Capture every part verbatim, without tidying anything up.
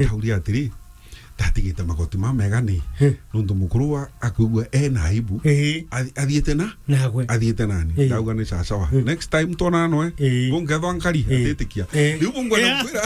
Tauria atiri, ndatigite magoti ma mega ni, eh, nuntu mukuru wa akwigua ena aibu. Eh. Athi-, athiite na? Nagwe. Athiite nani? Eh. Ndauga ni sawa sawa. Eh. Next time twonana noe. Eh. Bungethwa nkari, eh, atitikia. Eh. Riu bungwenda, yeah, kukwira.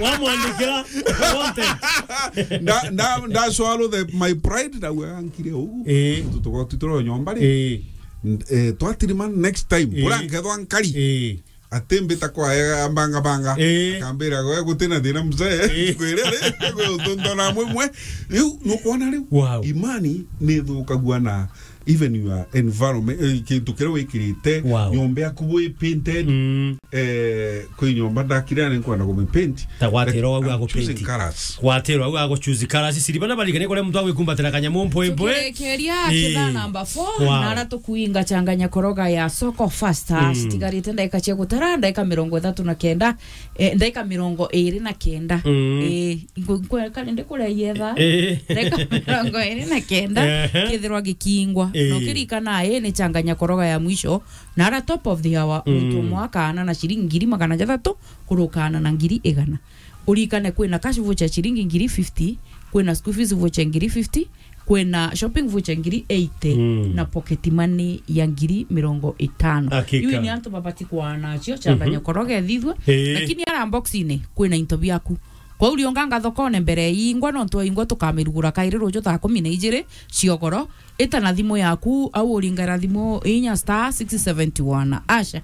Wamwandikira content. Nda-, nda-, nda swallow the, my pride, ndauga nkire ugu. Eh. Tutugo tuturo nyomba ri. Eh. N-, eh, twatirima next time. Eh. Bura ngethwa nkari. Eh. Ati mbita kwa ega banga banga. Eh. Akambira, "Gwe gutina thina mzee." Eh. Kwire ri, gwe utuntona mwe mwe. Riu nukwona riu. Wow. Imani ni thukagua na even your environment, eh, kintu kiria wikirite, wow, nyomba yaku wi painted. Mm. Eh, kwi nyomba ndakire ni nkwenda ku paint. Ta gwatirwa, like, au I'm agu choosing paint. Colors. Gwatirwa, au agu choose colors. Siri bana barikane kore muntu agwikumbatira kanyamu mpwe mpwe. Tukirikiria, eh, kithaa namba four, wow, na ara tukuinga changanya koroga ya soko faster. Mm. Citigarite ndaika cia gutara, ndaika mirongo ithatu na kenda, eh, ndaika mirongo iri na kenda. Mm. Eh, ngu-, nkwe-, kari ndikuria yetha. Eh. Ndaika mirongo iri na kenda, ehe, kithirwa gikingwa. Eh. Na ukirikana, ii ni changanya koroga ya mwisho, na ara top of the hour, mm, muntu umwe akaana na ciringi ngiri magana jathatu, kurukana na ngiri igana. Urikane kwina cash voucher ciringi ngiri fifty, kwina school fees voucher ngiri fifty, kwina shopping voucher ngiri eighty, mm, na pocket money ya ngiri mirongo itano. Hakika. Iu ni antu babati kwaana nacio, changanya, mm-hmm, koroge thithwe. Ee. Lakini ara box-ini kwina into biaku. Kwou rionganga thokone mbere ya ingwa, nontu ingwa tukamirugura kairi ruju thaa kumi na ijiri ciogoro. Ita na thimu yaku, au uringara thimu inya star six seventy one hash.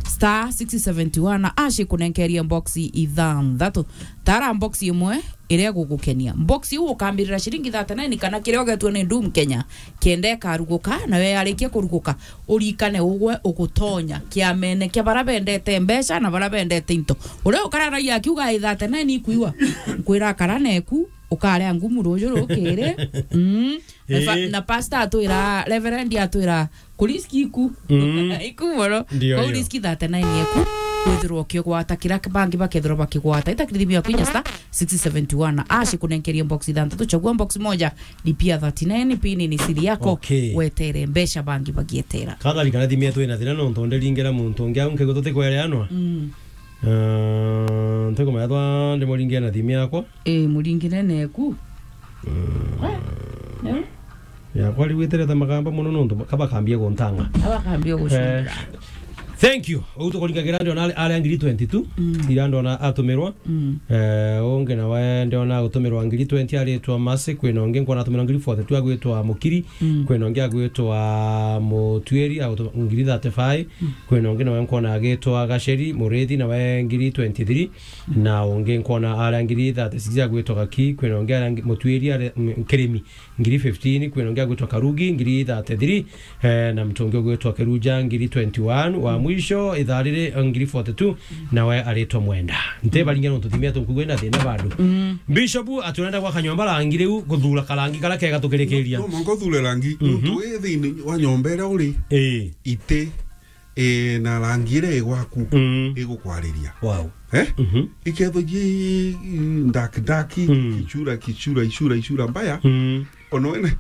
Star six seventy one hash ikunenkerie box ithanthatu. Tara box imwe iria igugukenia. Box iu ukambirira ciringi thirty-nine kana kiria ugetue ni Doom Kenya, kenda ikaruguka, nayo yarikia kuruguka, urikane ugwe ugutonya kiamene kia baria bendete mbeca na baria bendete into. Uria ukararagia akiuga, "Ai, thirty-nine ikuiwa." Nkwira, kara neku, ukaria ngumu ruju rukiri. Mm. Na fa-, ii, na pastor atwira, reverend atwira, "Kuriski iku." Mm. Iku mono. Ndio, kwou ndio. Riski thirty-nine yeku, withirwa ukigwata kiria bangi bakethirwa bakigwata. Ita kithimi ya kwinya star six seventy one hash ikunenkerie box ithanthatu, chagua box moja, lipia thirty-nine, pini ni siri yako, okay, wetere mbeca bangi bagietera. Kathari kana thimi yetu ina thina nontu ndiringera muntu ungi au nkigwe tutikwereanwa. Mm. Eh, ntikumenya twa ndimuringie na thimi yakwa. Ii, muringire neku. Mm. We, neu? Yakwa riu iterete magamba mono nontu ka bakambia guntanga. Ka bakambia gucundira. Eh, thank you. Uu tukuringagira ndiona ari, ari ngiri twenty-two. Mm. Ira ndiona atumirwa. Mm. Eh, ungi nawe ndiona agutumirwa ngiri twenty aritwa Mercy, kwina ungi nkwona atumirwa ngiri forty-two agwitwa Mukiri, mm, kwina ungi agwitwa Mutuiri, agutu-, ngiri thirty-five, mm, kwina ungi nawe nkwona agitwa Gaceri Murithi, nawe ngiri twenty-three, na ungi nkwona aria ngiri thirty-six agwitwa Gaki, kwina ungi aria ngi-, Mutuiri aria, mm, Kirimi, ngiri fifteen, kwina ungi agwitwa Karugi, ngiri thirty-three, eh, na muntu ungi ugwitwa Kiruja, ngiri twenty-one. Wa mwisho, ithaa riri, eh, ngiri forty-two, nawe aritwa Mwenda. Ntibaringia nontu thimi yetu nkuigua ina thina bado. Mm. Bishop, aturenda gwaka nyomba rangi riu, guthura karangi karia kega tukirikiria. No, no mwanka uthure rangi, mhm, nontu wi thiini wa nyomba iria uri, ii, iti, eh, na rangi iria i gwaku, mm, igukwariria. Wow. Eh? Mhm. Ikethwa ji, dark, dark, mm, kichura, kichura, ichura, ichura mbaya. Mm. Ono wene.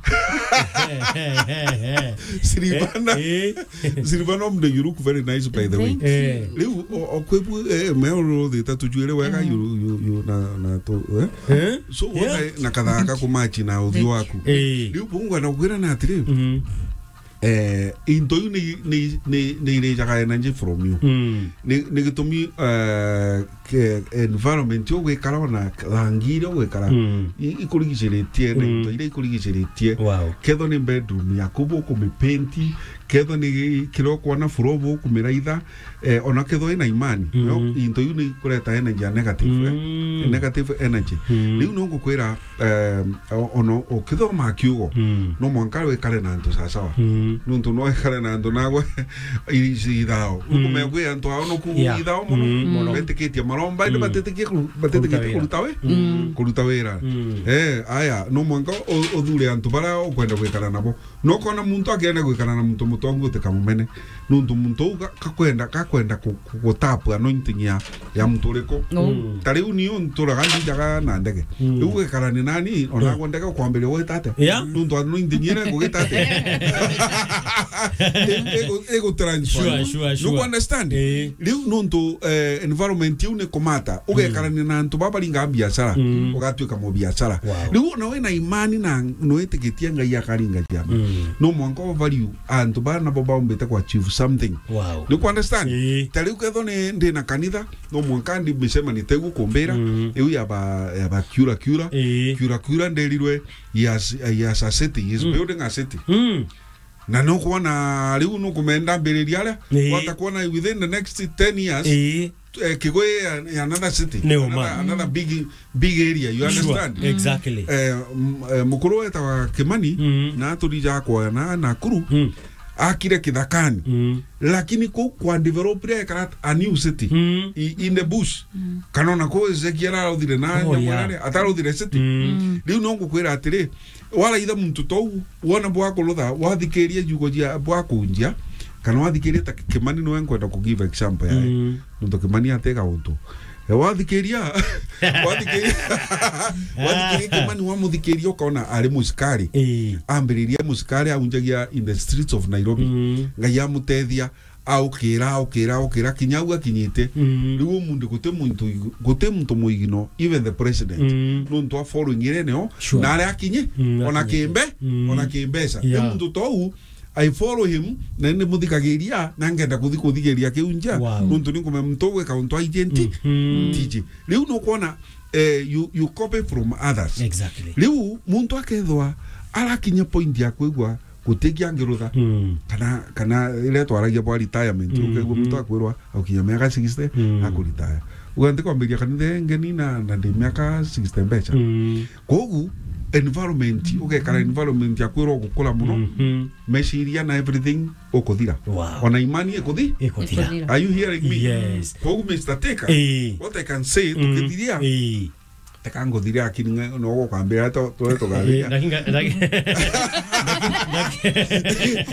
Silvana. Eh, eh. Silvana, mde, you look very nice, by the way. Thank you. Eh. Riu, o, o, kwebu, eh, me oro thita tujuire wega, mm, you, you, you, na, na to, eh? Eh? So, yeah, wona na kathaka kumachi na uthio waku. Eh. Riu, bungwa na kugira na atiri. Mhm. Eh, into iu ni, ni, ni, ni irijaga energy from you. Mm. Ni, ni gitumi, eh, ke-, environment yo gwikara ona rangi iria ugwikara, mm, i-, ikurigiciritie na, mm, into iria ikurigiciritie. Wow. Kethwa ni bedroom yaku bukumipenti, kethwa ni kiria ukwona floor bukumiraitha, eh, ona kethwa ina imani, mm, no, into iu ni kureta energy ya negative, eh? Mm. Negative energy. Mm. Riu no ngukwira, em, o-, ono ukithoma kiugo, mm, no mwanka wikare na antu sawasawa. Mm. Nuntu no wikare na antu nagwe ithao. Mm. Ukumenya kwi antu ao no ku, yeah, ithao mono. Mm, mono. Betikitie maromba, indi, mm, batetikie kuru-, batetikitie kuruta wira. Kuruta wira. Mm. Kuruta wira. Mm. Eh, aya, no mwanka u-, uthure antu baria ukwenda gwikara nabo. No kona muntu akienda gwikara na muntu mutongu utikamumene. Nuntu muntu uu ga-, kakwenda, kakwenda ku-, ku-, gutap anointing ya, ya muntu uriku. Mm. Ta riu niu nturaga nthijaga na ndege. Mm. Riu gwikarani nani, ona, mm, agwe ndege ukwambiria gwita atia? Yeah. Nuntu anointing iria ngugita atia? Igu-, igu-, igu transfer. Sure, sure, sure. Nuku understand? Eh. Riu nontu, eh, environment iu ni kumata. Ugekarania na antu baba baringa biashara. Mm. Ugatuika mubiashara. Wow. Riu ona wina imani na nwitikitie Ngai akaringa ciama. Mm. No mwanka o value antu bana bo baumbite kwa achieve something. Wow. Nuku understand? Eh. Ta riu kethwa ni ndina kanitha, no mwanka ndi micemani tegu kumbira, mm, iu ya ba, ya ba kiura kiura. Ii. Kiura kiura nderirwe, he has, he has a city, he's, mm, building a city. Mm. Na nukwona riu nukumenda mbiriria aria, ii, wata kwona within the next ten years, ii, eh, Kigwe ya, ya another city, ni uma, another, another big, big area, you, sure, understand? Exactly. Eh, m-, eh, mukuru wetawa Kimani, mm, na aturija kwa na Nakuru, mm, akire kithakani. Mm. Lakini kuu kwa develop ria ekara a new city, mm, i-, in the bush. Mm. Kana ona kuu Ezekiel araruthire na, oh, nyamwe, yeah, nare, ataruthire city. Mm. Mm. Riu no ngukwira atiri, waraitha muntu tou, wona bwa kurutha, wathikiria ciugo cia bwa kunjia, kana wathikiria ta Kimani niwe nkwenda ku give example yae. Mm. Nontu Kimani atega untu. E, wathikiria, wathikiria, wathikiria Kimani, wamuthikiria ukona ari mucikari. Ii. Ambiriria mucikari aunjagia in the streets of Nairobi. Mm. Ngai amutethia, aukira, aukira, aukira, kinya au akinyite. Mm. Riu umunthi guti muntu, guti muntu muigino, even the president. Mm. Nontu a following ire neo, sure, na aria akinyi, mm, ona akinyite, kimbe, mm, ona kimbeca. Yeah. Riu muntu tou, I follow him, na ni muthikagiria, na ngenda kuthi kuthigiria kiu nja, wow, nontu ni nkumenya muntu ugwika untu aijenti, mhm, tiji. Riu nukwona, eh, you, you copy from others. Exactly. Riu muntu akethwa arakinya point ya kwigua gutikia ngirutha, mm, kana, kana iria twaragia bwa retirement, mm, ukaigua muntu akwirwa aukinya miaka sixty, mm, akuretire. Uga ntikwambiria kanitha ingi ni na, na ndi miaka sixty mbeca. Mm. Kogu environment, ugekara environment ya kwirwa gukura muno, mhm, meciria na everything ukuthira. Wow. Ona imani ikuthi-, ikuthira. Ikuthira. Are you hearing me? Yes. Kogu, Mister Taker, eh, what I can say, mm, tukithiria, eh, teka nguthire, lakini nge-, no gukambira to, to, to, eh, lakini nga-, lakini, lakini, lakini,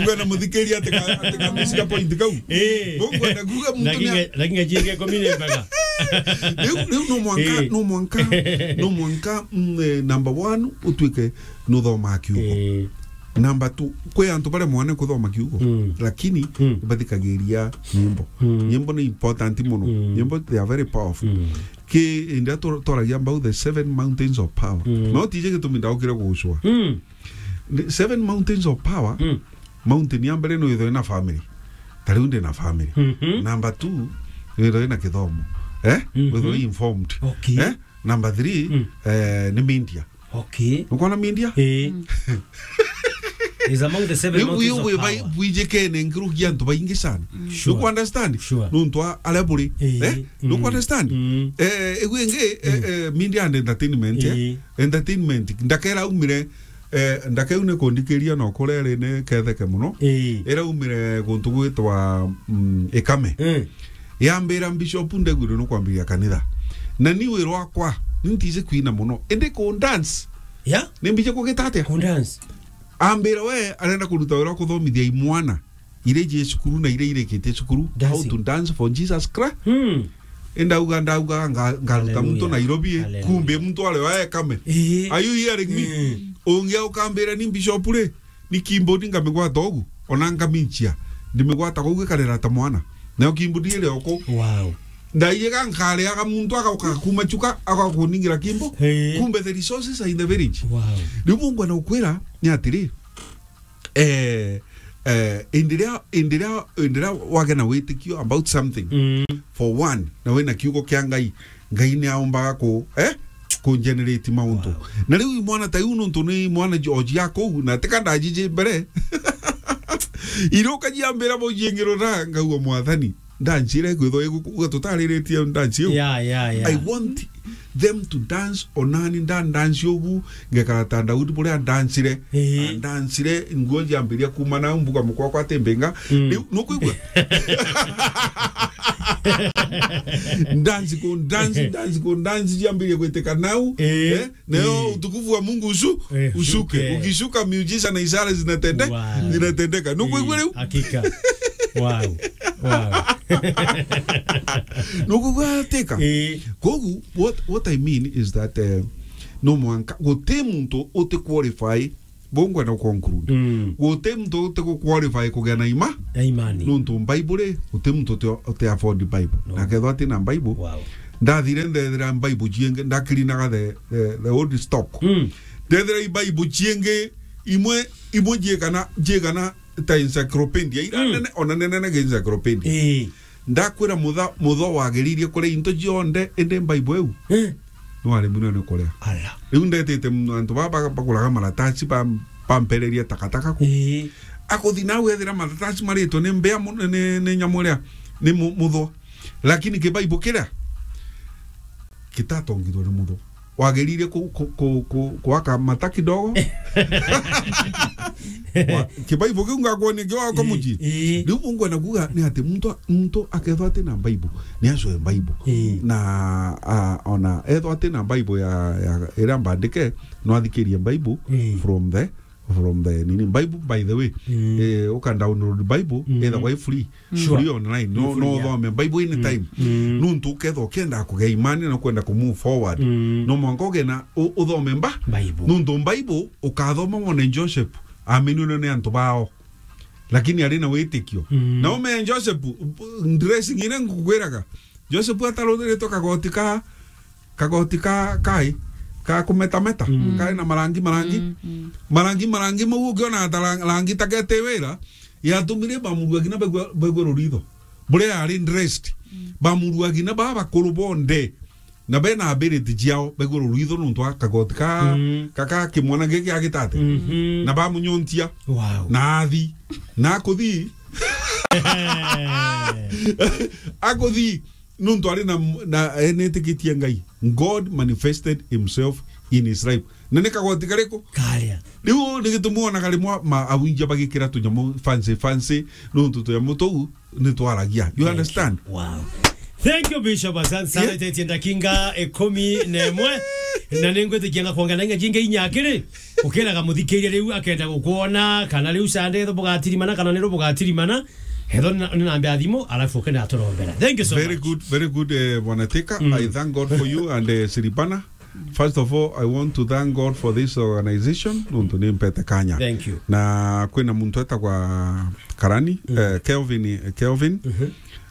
ngwenda muthikiria atika, atika mishika point kau. Eh. Bo ngwenda kuga muntu lakini ni a- nga-, lakini ngajienge kumi ni mpaka. Riu, riu no mwanka, eh, no mwanka, no mwanka, mm, eh, number one, utuike nuthomaa kiugo. Eh. Number two, kwi antu baria mwane kuthoma kiugo, mm, lakini, mm, bathikagiria nyimbo. Mm. Nyimbo ni important muno. Mm. Nyimbo, they are very powerful. Mm. Ki india tu-, twaragia about the seven mountains of power. Mm. No tije gitumi ndaukire gucua. Mm. The seven mountains of power, mm, mountain ya mbere no ithwe na family. Ta riu ndi na family. Mhm. Number two, withwe na kithomo. Eh? Mhm. Withwe informed. Okay. Eh? Number three, mm, eh, ni media. Okay. Ukwona media? Eh. Mm. Is among the seven mountains of power. Bwijikene nkiruki antu baingi sana. Mm. Sure. Nuku understand? Sure. Nontu a-, aria buri. Eh. Eh? Mm. Nuku understand? Mm. Eh, igu ingi, eh, mm, eh, media and entertainment, eh? Eh. Entertainment. Ndakera umire, eh, ndakeu ni kundikiria no kurere ni ketheke muno. Eh. Ira umire guntu gwitwa, mm, Ikame. Eh. Yambira, "Bishop, ndegwire nukwambiria kanitha. Na ni wira wakwa, ni ntiji kwina muno. Indi ku dance, ya? Ni mbije kugita atia?" Ku dance. Ambira, "We arenda kuruta wira wa kuthomithia imwana iria iji cukuru na iria irikitie cukuru, how to dance for Jesus Christ." Hmm. Indauga, ndauga, nga-, ngaruta muntu Nairobi, eh. Hallelujah. Kumbe muntu ari wa Ikame. Ii. Are you hearing me? Mm. Ungi ukambira, "Ni bishop ri, ni keyboard ngamigwata ugu, ona ngamincia, ndimigwata ugu ikarira ta mwana. Nayo keyboard iri oku." Wow. Ndaiga nkariaga muntu agauka kuma chuka, agakuningira kimbo. Hey. Kumbe the resources are in the village. Wow. Riu bungwa na ukwira ni atiri, eh, eh, indiria, indiria, indiria wagena witikio about something, mm, for one, na wina kiugo kia Ngai, Ngai ni aumbaga ku, eh, ku generate mauntu. Wow. Na riu imwana ta iu, nontu ni imwana George ya kuu, na tika ndajiji mbere. Iroka jiambira bo jiengirora, ngauga, "Mwathani, ndancire kwithwa igukuga tutariritie ndanci iu." Yeah, yeah, yeah. I want them to dance onani nda dance ugu, ngekara ta Daudi buria ndancire. Ii. Ndancire, nguo jiambiria kuma nau, mbuga mukwa kwa timbinga. Mm. Riu, nukwigua? Dance ku dance, dance ku dance, jiambirie gwitika nau. Ii. Eh? Nayo, ii, utukufu wa Mungu usu-, eh, usuke. Usuke. Ukishuka, miujiza na ishara zinatende-, wow, zinatendeka. Nukwigua riu? Ii, hakika. Wow. Wow. Nukwigua atika? Ii. Kogu, what, what I mean is that, eh, no mwanka, guti muntu uti qualify Bongwe na conclude. Mm. Guti muntu uti gu qualify kugia na ima. Na imani. Nuntu Bible ri, guti muntu uti, uti afford Bible. No. Na kethwa ati na Bible, wow, ndathire ndethira Bible ciingi, ndakirinaga the, the, the old stock. Mm. Ndethira i Bible ciingi, imwe, imwe ciigana, ciigana ta encyclopedia, ira, mm, nene, ona nene nene encyclopedia. Ii. Ndakwira mutha, mutho wagiririe kuria into cionthe, indi Bible iu, eh, nwaremirwe ni kuria. Ala. Riu ndetite m-, antu baba ba-, baguraga maratasi ba-, bampererie takataka ku. Ii. Akuthi nau ethira maratasi maritwe ni mbea mu-, ni, ni nyamu iria, ni mu-, mutho. Lakini kibaibu kiria, kitatongithwe ni mutho. Wagirire ku-, ku-, ku-, ku-, kuaka mata kidogo. Wa-, kibaibu kiu ngakwonia kio wako muji. Ii. Riu ungwenda kuga ni ati muntu, muntu akethwa ati na Bible, ni acoe Bible. Ii. Na, a, ona ethwa ati na Bible ya, ya, iria mbandike, no athikirie Bible, ii, from the from the nini. Bible, by the way, mm, eh, uka download Bible, mm, ethagwa i free. Sure. Free online. No, free, no, yeah, uthome Bible anytime. Mm. Mm. Nuntu ukethwa ukienda kugia imani na kwenda ku move forward, mm, no mwanka ugie na u-, uthome mba-, Bible. Nuntu Bible ukathoma wone Joseph aminirwe ni antu bao. Lakini ari na witikio. Mm. Na ume Joseph, dressing ine ngukwiraga. Joseph ataruthirite kagoti ka kagoti ka, kai, ka kumetameta, mm, kari na marangi, marangi. Mm, mm. Marangi, marangi mau ungiona ta ra-, rangi ta gete wira, yatumire bamurua kinya begwe, begwe ruritho. Buria yari dressed. Mm. Bamurua kinya baba bakuru bonthe. Na bena ability ciao begwe ruritho nuntu wa kagoti ka, mm, ka, ka kimwana giki agitate. Mhm. Na bamunyontia. Wow. Na athi. Na akuthi. Akuthi. Nuntu ari na, na, eh, netikitie Ngai. God manifested himself in his life. Na ni kagoti kariku? Karia. Riu ni gitumi wonaga rimwe ma awinja bagikira tunyamu fancy fancy, nuntu tunyamu tuu ni twaragia. You understand? Thank you. Wow. Thank you, Bishop. Asante sana. Yeah. Itetie ndakinga ikumi na imwe. Na ningwitikia nga kwongera na inga jingi inya akiri. Ukiraga muthikiria riu akenda gukwona, kana riu Sunday etho bugatirimana, kana niru bugatirimana. Etho na, na namba ya thimu, alafu ukenda aturombera. Thank you so much. Very good, very good, eh, Bwana Thika. Mm. I thank God for you and, eh, Siribana. First of all, I want to thank God for this organization. Nuntu ni mpete kanya. Thank you. Na kwina muntu etagwa Karani, mm, eh, Kelvin, eh, Kelvin. Mhm.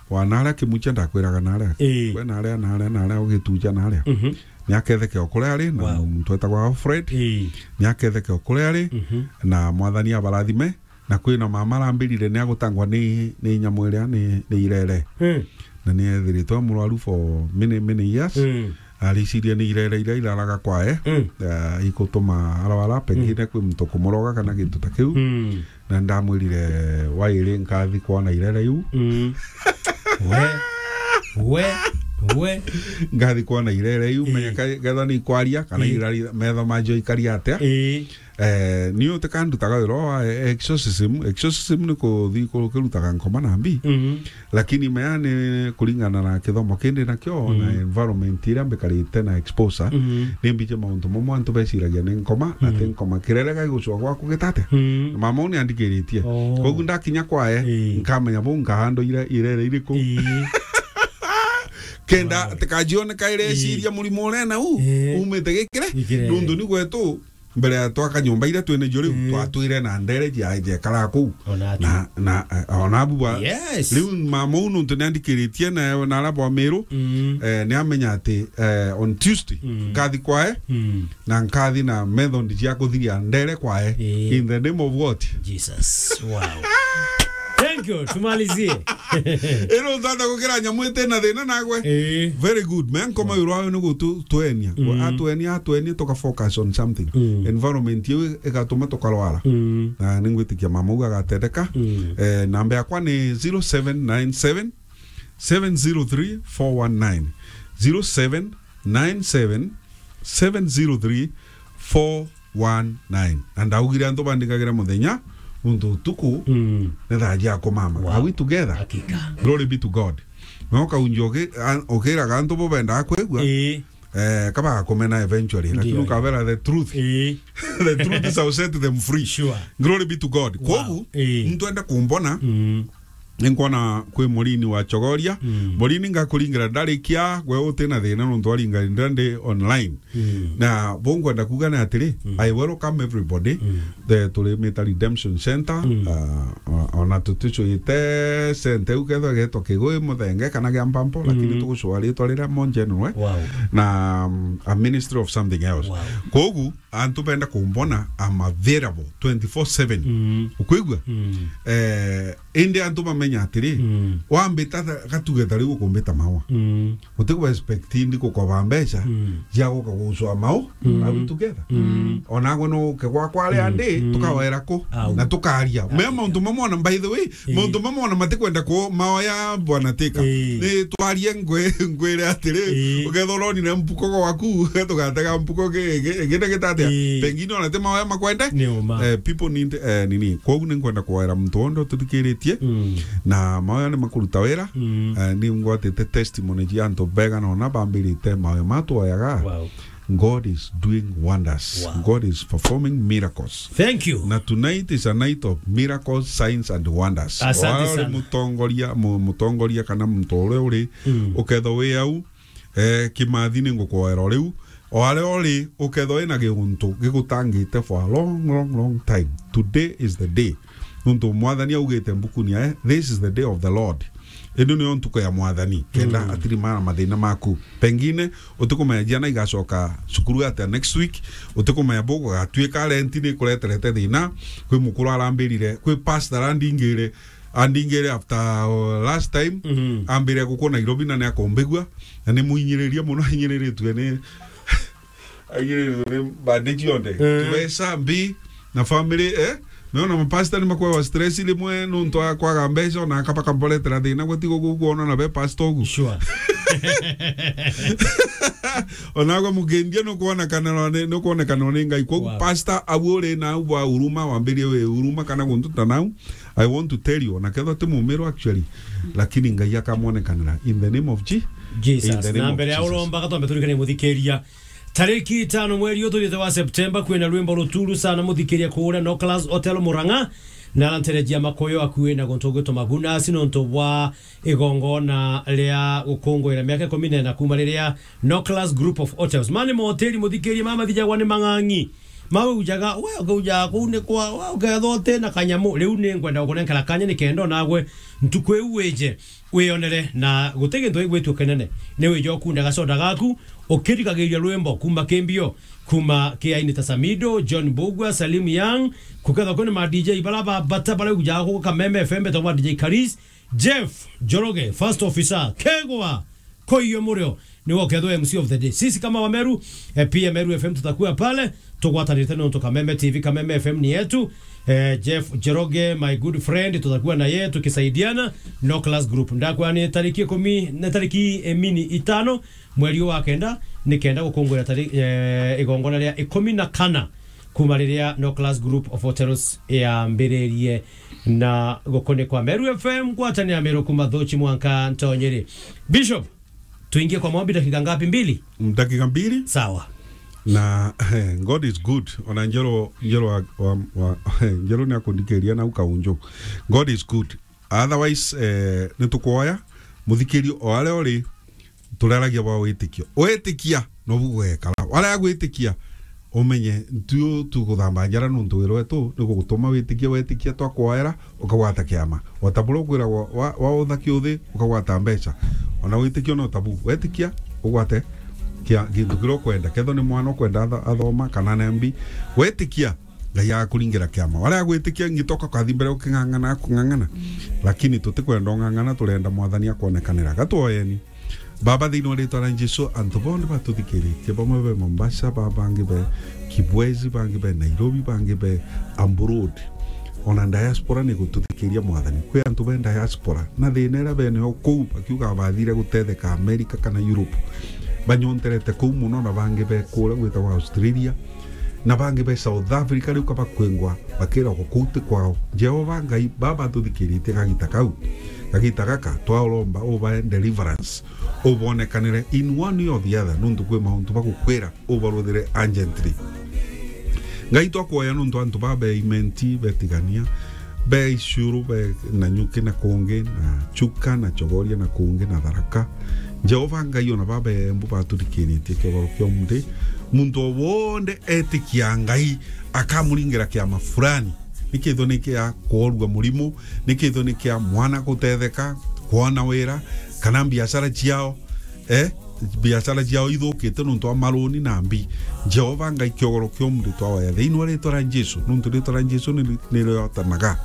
Wa naria Kimucha ndakwiraga naria. Ii. We naria, naria, naria ugituja naria. Mhm. Ni aketheke o kuria ari, na, wow, muntu etagwa Alfred. Ii. Ni aketheke o kuria ari, mhm, na Mwathani abarathime. Na kwina mama arambirire ni agutangwa ni, ni nyamu iria ni, ni irere. Mm. Na ni ethiritwe murwaru for many, many years. Mm. Ariciria ni irere iria iraraga kwae. Mm. Eh, ikutuma arwara, pengine, mm, kwi muntu kumuroga kana gintu ta kiu. Mm. Na ndamwirire, "Wairi nkathi kwona irere iu." Mm. We, we, we. Ngathi kwona irere iu, ii, menya ka-, ketha ni ikwaria, kana, ii, irari, metho majo ikaria atia. Ii. Eh, ni utikandutaga wira wa exorcism. Exorcism ni kuthi ku-, kirutaga nkoma na mbi. Mhm. Lakini mea ni kuringana na kithomo kindi nakio, na, mm, environment iria mbikarite na exposure, mm, ni mbije mauntu mamwe antu beciragia ni nkoma, na, mm, ti nkoma. Kirere gaigucwa gwaku gitate? Mm. Mama uu ni andikiritie. Oh. Koguo ndakinya kwae, ii, nkamenya buu nkahandwa ire-, irere iriku. Ii. Kenda, wow, tikajioneka ireciria, ii, murimo uria na uu, ii, umite gikire. Gikire. Nuntu ni gwetu, mbere ya twaka nyomba iria twina cio riu, mm, twatwire na ndere cia, ciekara kuu. Ona atu. Na, na, eh, ona abu ba-, yes, riu mama uu nuntu ni andikiritie na, na ara bwa Miru, mm, eh, ni amenya ati, eh, on Tuesday, mm, nkathi kwae, mm, na nkathi na method cia kuthiria ndere kwae. Eh. In the name of what? Jesus. Wow. Thank you. Tumalizie. Ino ntata gukira nyamu iti na thina nagwe. Eh. Very good. Me nkoma, wow, wira wayo ni gutu-, tuenia. Mm. Atuenia, atuenia, tuka focus on something. Mm. Environment iu igatuma tukarwara. Mm. Na ningwitikia mama uu agatendeka. Mm. Eh, namba yakwa ni zero seven nine seven, seven zero three, four one nine. Zero seven nine seven, seven zero three, four one nine. Na ndaugire antu bandikagira muthenya, nuntu utuku, mm, ni thaa cia kumama. Wow. Are we together? Hakika. Glory be to God. Na ukaunjia uki-, a-, ukiraga antu bo bendaga kwigua, ii, eh, kabagakumena eventually, lakini, ndio, ukabera the truth. Ii. The truth shall set them free. Sure. Glory be to God. Wow. Koguo, ii, muntu enda kumbona, mm, Ninkwona kwi Murini wa Chogoria. Mm. Murini, ngakuringira ndarikia, gwe uti na thina nontu waringanira ndi online. Mm. Na bo nkwenda kuuga ni atiri, mm, I welcome everybody. Mm. The, turi Mita Redemption Center, mm, uh, uh, ona tuticwite center iu kethwa getwa Kigui, Muthenge kana gia Mpampo, lakini, mm, tugucua ritwa riria monjenwe. Wow. Na, um, a ministry of something else. Wow. Kogu, antu benda kumbona, I'm available twenty-four seven. Mm. Ukwigua? Mm. Eh, indi antu bamenya atiri, mm, wambita tha-, gatuge ta riu ukumbita maua. Mm. Utikwa expect ndi gukoba mbeca, mm, cia guka gucwa mau, mm, au together. Mm. Onagwe no uke gwakwa aria, mm, ndi, mm, tukawera ku, au, na tukaria. Ah, me mauntu mamwe ona, by the way, ii, mauntu mamwe ona matikwenda ku maoya bwana Tika. Ii. Ni twarie ngwe-, ngwire atiri, ii, ukethirwa uronire mpuko gwaku, tugatega mpuko gi-, gi-, gina gitatia. Ii. Pengine ona ti maoya makwende. Ni uma. Eh, people need, eh, nini. Kogu ni nkwenda kwera muntu wonthe ututhikiritie. Mm. Na maoya ni makuruta wira. Mm. Eh, ni ngwatite testimony cia antu bega na ona bambirite maoya matwoyaga. Wow. God is doing wonders. Wow. God is performing miracles. Thank you. Na tonight is a night of miracles, signs and wonders. Asante sana. Wale mutongoria, mu-, mutongoria kana muntu uria uri, mm, ukethwa wi au, eh, kimathi ni ngukwoera o riu. O aria uri, ukethwa wina giuntu gigutangite for a long, long, long time. Today is the day. Nontu Mwathani augite mbukuni yae, "This is the day of the Lord." Ino niyo ntuku ya Mwathani, kenda, mm, atirimana mathina maku. Pengine utikumenya ciana igacoka cukuru atia next week, utikumenya bugugatuika rent ni ikureterete thina. Kwi mukuru arambirire, kwi pastor arandingire, andingire after, uh, last time, mhm, ambire guku Nairobi na ni akumbigua, na ni muinyiririe muno, ainyiriritue ni Aigirire ni bandage yonthe. Eh. Tubeca mbi na family, eh? Meona mapasta ni makwawa stress rimwe nontu wa kwaga mbeca, ona akaba kamboretera thina gwe tigo gukuona na be pastor ugu. Sure. Onagwe mugendia nukwonekana ni, nukwonekana ni Ngai. Koguo, wow, pastor, au uri na au bwa huruma, wambirie wi huruma kana guntu ta nau. I want to tell you, ona kethwa ti mumiru actually, lakini Ngai akamwonekanira in the name of Je-, Jesus. In the name of Jesus. Na mbere ya uromba, gatwambe turikane muthikiria. Tariki itano mweri uyu turite wa Septemba, kwina rwimbo ruturu sana muthikiria kuria Noklas Hotel Murang'a, na aranterejia makoyo akui na guntu gwitwa Magunas nontu bwa igongona ria gukunguira miaka ikumi na ina kuma riria Noklas Group of Hotels. Mani mahoteli muthikiria mama thijagwa ni mang'ang'i. Mawe ujaga, we ukaujaga kuu ni kwa, we ukethwa uti na kanyamu. Riu ni ngwenda gukunenkera kanya ni kenda onagwe ntuku iu wije wiyonere, na guti gintu gigwitue kinene. Ni wije ukunda gacoda gaku, ukirigagiriria rwimbo kuma ki mbio, kuma ki aini ta Samido, John Mbugua, Salim Young, kukethwa kwina ma D J bara ba bata bara ujaga ku Kameme F M betagwa D J Karis, Jeff Njoroge, first officer, Kegwa, Koiyo Murio, niwe ukethwa M C of the day. Sisi kama Wameru, eh, pia Meru F M tutakuwa pale, tugwatanite nontu Kameme T V, Kameme F M ni yetu. Eh, Jeff Njoroge, my good friend, tutakuwa na yeye tukisaidiana. Noklas Group. Ndakwa ni tariki ikumi, na tariki, eh, mini itano, mweri wa kenda, ni kenda gukunguira tari-, eh, igongona ria ikumi na kana. Kuma riria Noklas Group of Hotels yambiririe na gukunikwa. Meru F M, ngwatanira Meru kuma Thuchi mwanka Ntonyeri. Bishop, tuingie kwa maombi dakika ngapi? Mbili? Mm, dakika mbili. Sawa. Na, eh, God is good. Ona Njeru, Njeru wa, wa, wa, Njeru ni akundikiria nau kaunju. God is good. Otherwise, eh, nitukwoya muthikirio o aria uri, turaragia bwa witikio. Witikia, nobu gugekara. Waria gwitikia, umenye ntu tuguthamba njara nontu wira wetu ni gugutuma witikie, wetikia twakwoera, ukagwata kiama. O ta buria ukwiragwa wa, wa, wautha kiuthi, ukagwata mbeca. Ona witikio no tabu. Wetikia, ugwate kia, gintu kiria ukwenda. Kethwa ni mwana ukwenda atho-, athoma, kana ni mbi. Wetikia, Ngai agakuringira kiama. Waria gwitikia ngitoka kathi mbere uking'ang'ana, kung'ang'ana. Lakini tutikwenda ung'ang'ana, turenda Mwathani akwonekanira. Gatwoyeni. Baba, thiini wa ritwa ria Jesu, antu bonthe batuthikiritie, bamwe be Mombasa, ba-, bangi be Kibwezi, bangi be Nairobi, bangi be abroad. Ona diaspora ni gututhikiria, Mwathani. Kwi antu be diaspora, na thina iria benayo kuu, bakiuga bathire gutetheka America kana Europe. Banyonterete kuu mono, na bangi be kuria gwitagwa Australia. Na bangi be South Africa riu kabakwingwa bakiragwo kuu ti kwao. Jehova Ngai, baba tuthikiritie kagita kau, kagita gaka, twauromba ubae deliverance, ubonekanire in one way or the other, nuntu kwi mauntu bagukwira ubaruthire urgently. Ngai, twakwoya nuntu antu baba be Imenti, be Tigania, be Icuru, be Nanyuki na kungi, na Chuka, na Chogoria na kungi, na Tharaka. Jehova Ngai, ona baba embu batuthikiritie kiogoro kia umuthi, muntu o wonthe etikia Ngai akamuringira kiama fulani, nikithwa ni kia kworua murimu, nikithwa ni kia mwana gutetheka, kwona wira, kana biashara ciao, eh, biashara ciao ithukite nontu wa maruni na mbi. Jehova Ngai, kiogoro kia umuthi twaoya thiini wa ritwa ria Jesu, nontu ritwa ria Jesu ni, ni riotanaga.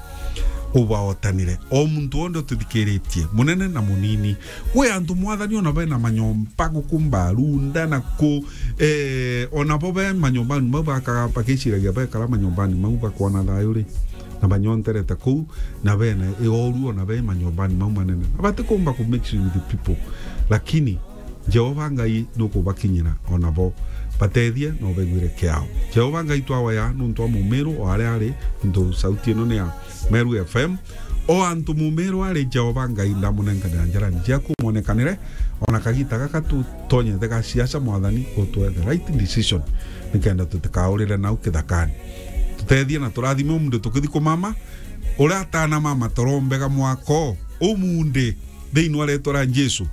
Ubaotanire o muntu wonthe ututhikiritie, munene na munini. Kwi antu, Mwathani, ona bena manyomba guku Mbarunda na ku, eh, ona bo be manyombani mau bakaga, bakiciragia bekara manyombani mau bakwona thayu ri, na banyonterete kuu, na bena ioru ona be manyombani mau manene, na batikumba ku mix with the people. Lakini Jehova Ngai nukubakinyira ona bo, batethie na ubaiguire kiao. Jehova Ngai, twaoya nontu wa mumiru o aria ari, nontu sauti ino ni ya Meru F M. O antu mumiru ari, Jehova Ngai, ndamunenkanira njarani ciaku, mwonekanire, ona kagita gaka tutonyete ga siasa, Mwathani, utwe the right decision, nikenda tutikaurire nau kithakani. Tutethie na turathime umunthi tukithi kumama, uria atanamama toro mbega mwako umunthi, thiini wa ritwa ria Jesu,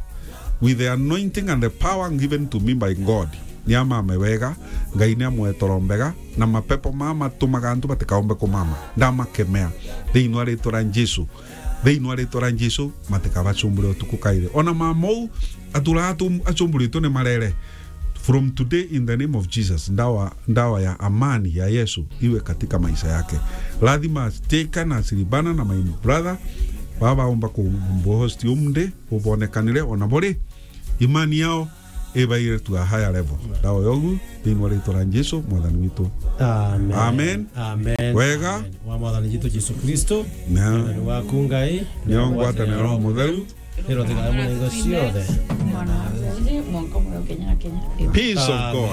with the anointing and the power given to me by God. Ni amame wega, Ngai ni amwe toro mbega, na mapepo maa matumaga antu batikaombe kumama, ndamakemea thiini wa ritwa ria Jesu. Thiini wa ritwa ria Jesu, matikabacumbure utuku kairi. Ona mama uu atura atu-, acumburitwe ni marere. From today, in the name of Jesus, ndawa, ndawa ya amani ya Yesu iwe katika maisha yake. Lazima Steka na Silibana na my brother baba baumba kumbohost umunthi, ubonekanire ona buri imani yao ibaire to a higher level. Ndawa yogu thiini wa ritwa ria Jesu, Mwathani witu. Amen. Amen. Amen. Wega. Amen. Wa Mwathani Jesu, Jesu Kristo, na Mwathani waku Ngai, nio ngwataniro Roho Mutheru, Iro thigara muno ingo ciothe. Mwana wa Ngai, mwanka muyo Kenya na Kenya. Peace of God.